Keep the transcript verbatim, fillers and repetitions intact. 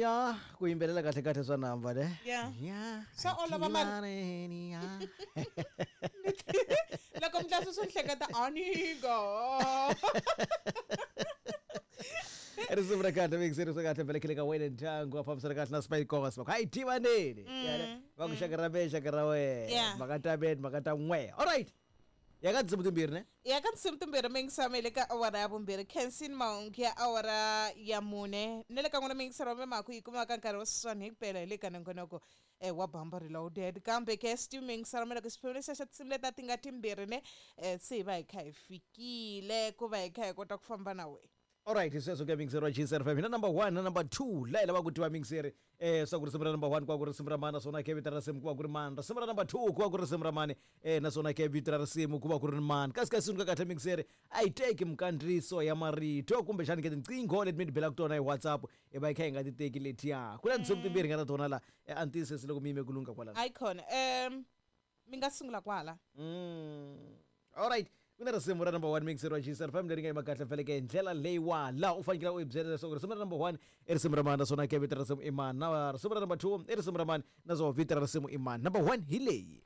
Ya ku yimbelela kahle kahle swa namba ne. Yeah. Ya. Swa olova mani. Ya. Loko mdlasu swi hleketa anigo. Risimu ra kahle mixeri swa kahle vele khile ka wena ndyangu a fambisana kahle na Spike Cosmo. Hayi tivaneni. Va ku xaka ra me xaka ra wena. Yeah. Mhaka ta me mhaka ta n'we. All right. Ya ka tinsimu timbirhi ne? Ya ka tinsimu timbirhi mingisama le ka awara ya vumbirhi Kensin Maungu ya awara ya mune ne le ka n'wina mingisero wa memaku yi kumaka nkarhi wa sweswiwani hi ku pela hi le ka nongonoko eh, wa Bamba Reloaded kambe ke stu mingisero me loko xiphemu lexiya xa tinsimu leti a ti nga timbirhi ne eh, se hi va hi kha hi fikile ku va hi kha hi kota ku famba na wena. Alright, sweswo ke mixeri wa G S F M. Hina number one na number two. La hi lava ku tiva mixeri eh swa ku risimu ra number one ku va ku risimu ra mani naswona ke vito ra risimu ku va ku ri mani. Risimu ra number two ku va ku ri risimu ra mani eh naswona ke vito ra risimu ku va ku ri mani. Kasi kasi ka kahle mixeri a yi teki minkandziyiso ya marito kumbexani ke tinqingho leti mi ti belaka tona hi WhatsApp i va yi kha yi nga ti teki letiya. Ku na tinsimu timbirhi nga ta tona la eh, a ni tiyisisi loko mi yime ku lungha kwalano. Ayi khona um mi nga sungula kwala. Mm. Alright. Ku na risimu ra number one mixer wa G S F M leri nga yima kahle feleke hi ndlela leyiwa laha u fanekele u hi byela leswaku risimu ra number one i risimu ra mani naswona ke vito ra risimu i mani, na risimu ra number two i risimu ra mani naswona vito ra risimu i mani. Number one hi leyi.